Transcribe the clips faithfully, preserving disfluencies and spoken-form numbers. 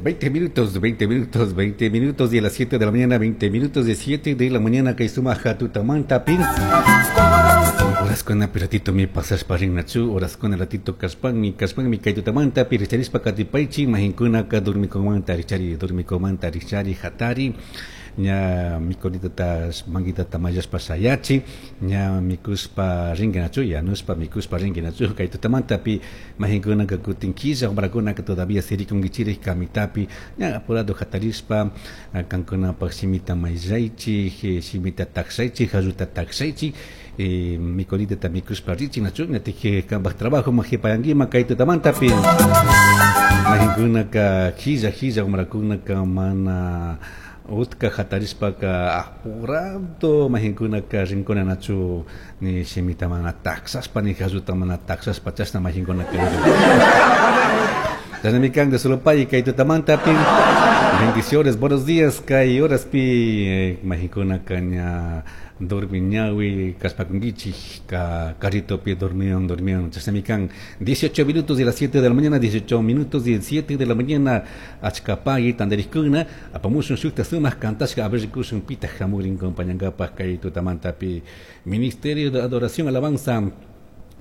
Veinte minutos, veinte minutos, veinte minutos de las siete de la mañana, veinte minutos de siete de la mañana, kay sumaja tutamanta pin. Horaskuna ratito mi pasashpa rinnachu, horaskuna ratito kashpanmi, kashpanmi kay tutamanta pi richarishpa katipaychi, mahinkunaka dormikumanta richari, dormikumanta richari, hatari, ña mikunitata manguitata mayashpa shayachi, ña mikushpa rinkinachu, yanushpa mikushpa rinkinachu, kay tutamanta pi mahinkunaka kutin killa, wamrakunaka todavía sirikunkichiri kamitapi, ña apurado hatarishpa, kankunapaj shimita mayllaychik, shimita takshaychik, jalluta takshaychik, eh, mikunitata mikushpa richi nachu, ñatik kanpaj trabajo majipayankima kay tutamanta pi mahinkunaka killa, killa wamrakunaka mana utka hatarishpaka apurado mahinkunaka rinkuna nachu ni shimita mana taksashpa ni jalluta mana taksashpa chashna mahinkunaka chashnami kan de Solopay kay tutamanta pi bendiciones, buenos días kay horas pi eh, mahinkunaka ña dormi ñawi kashpakunkichik ka carrito pi dormión dormión chashnami kan dieciocho minutos de las siete de la mañana, dieciocho minutos de siete de la mañana achkapagui tantarikkuna apamushun shukta sumak kantashka a ver rikushun pitaq hamurin compañankapaj kay tutamanta pi Ministerio de Adoración Alabanza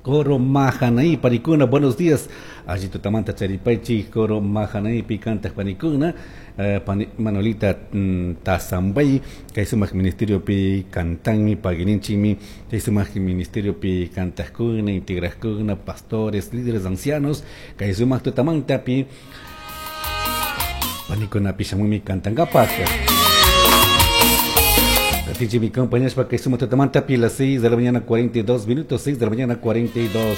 Coro Mahanaí panikuna, buenos días. Allí tutamanta charipaychik Coro Mahanaí picantaj panikuna, eh, pani, Manolita mm, Tazambay, kay sumak ministerio pi kantanmi, pagininchimi, kay sumak ministerio pi kantajkuna, integrajkuna, pastores, líderes ancianos, kay sumak tutamanta pi panikuna pishamumi kantankapaj. Atichi mi compañeros para que sumo tutamanta pi las seis de la mañana cuarenta y dos minutos, seis de la mañana cuarenta y dos.